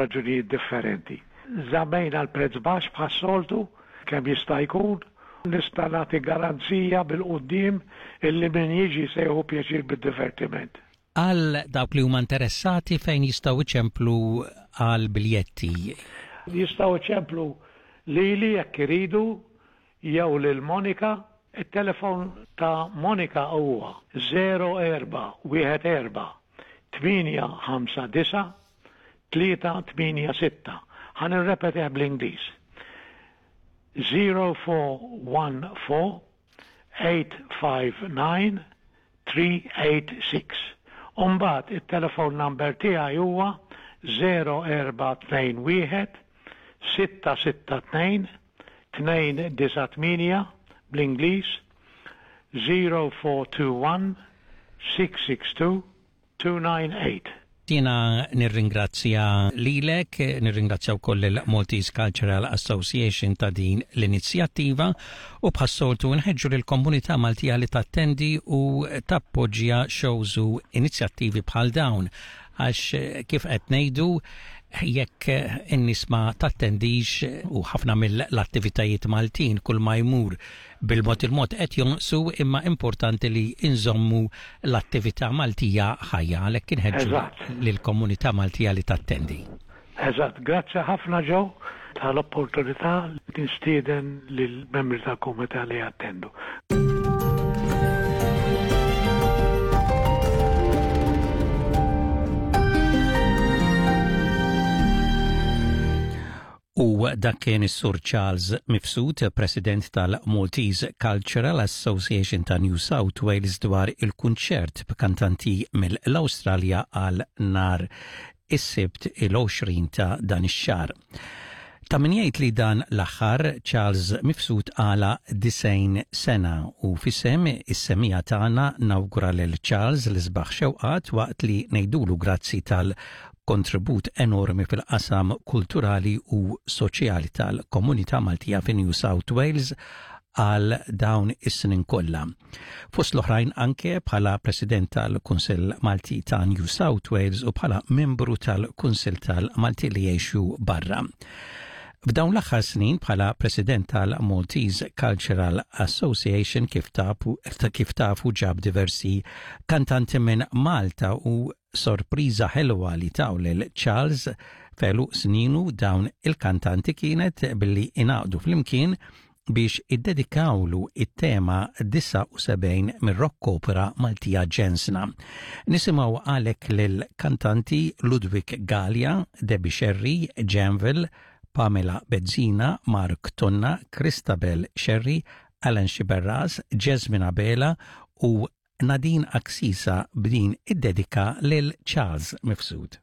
raġunijiet differenti. Żammejna l-prezz baxx bħas-soltu kemm jista' jkun. Nista' nagħti garanzija bil-quddiem illi min jiġi se jieħu pjaċir bid-divertiment. Għal dawk li huma interessati fejn jistgħu jċemplu għal biljetti? Jistgħu jċemplu lili jekk iridu jew lil Monica. It-telefon ta' Monica huwa 0414 859 386. Ħa nirrepetih bl-Ingliż. 0414 859 386. U mbagħad it-telefon number tiegħi huwa 0421 662 298 bl-Ingliż 0421 662 298. Jiena nirringrazzja lilek, nirringrazzja wkoll il-Maltese Cultural Association ta' din l-inizjattiva u bħas-soltu nħeġġu lill-komunità Maltija li tattendi u tappoġġja shows u inizjattivi bħal dawn għax kif qed ngħidu jekk in-nies ma tattendix u ħafna mill-attivitajiet Maltin kull ma jmur bil-mod il-mod qed jonqsu imma importanti li nżommu l-attività Maltija ħajja għalhekk inħeġġu lill-komunità Maltija li tattendi. Eżatt, grazzi ħafna Joe tal-opportunità li nistieden lill-membri tal-komunità li jattendu. U dak kien is-Sur Charles Mifsud, President tal-Maltese Cultural Association ta' New South Wales dwar il-kunċert b'kantanti mill-Awstralja għal nhar is-Sibt il-20 ta' dan ix-xahar. Ta' min jgħid li dan l-aħħar Charles Mifsud għalaq 90 sena u f'isem is-semmiegħa tagħna nawgura lil Charles l-isbaħ xewqat waqt li ngħidulu grazzi tal kontribut enormi fil-qasam kulturali u soċjali tal-komunità Maltija fi New South Wales għal dawn is-snin kollha. Fost l-oħrajn anke bħala President tal-Kunsill Malti ta' New South Wales u bħala membru tal-Kunsill tal-Malti li jgħixu barra. F'dawn l-aħħar snin bħala President tal-Maltese Cultural Association kif tafu, kif tafu ġab diversi kantanti minn Malta u Sorpriża ħelwa li taw lil Charles f'għeluq sninu dawn il-kantanti kienet billi ingħaqdu flimkien biex iddedikawlu it-tema 79 mir-rock opera Maltija Ġensna. Nisimgħu għalhekk lill-kantanti Ludwig Galea, Debbie Scerri, Janvil, Pamela Bezzina, Mark Tonna, Christabel Scerri, Alan Sciberras, Jasmine Abela u Nadine Axisa b'din id-dedika lil Charles Mifsud.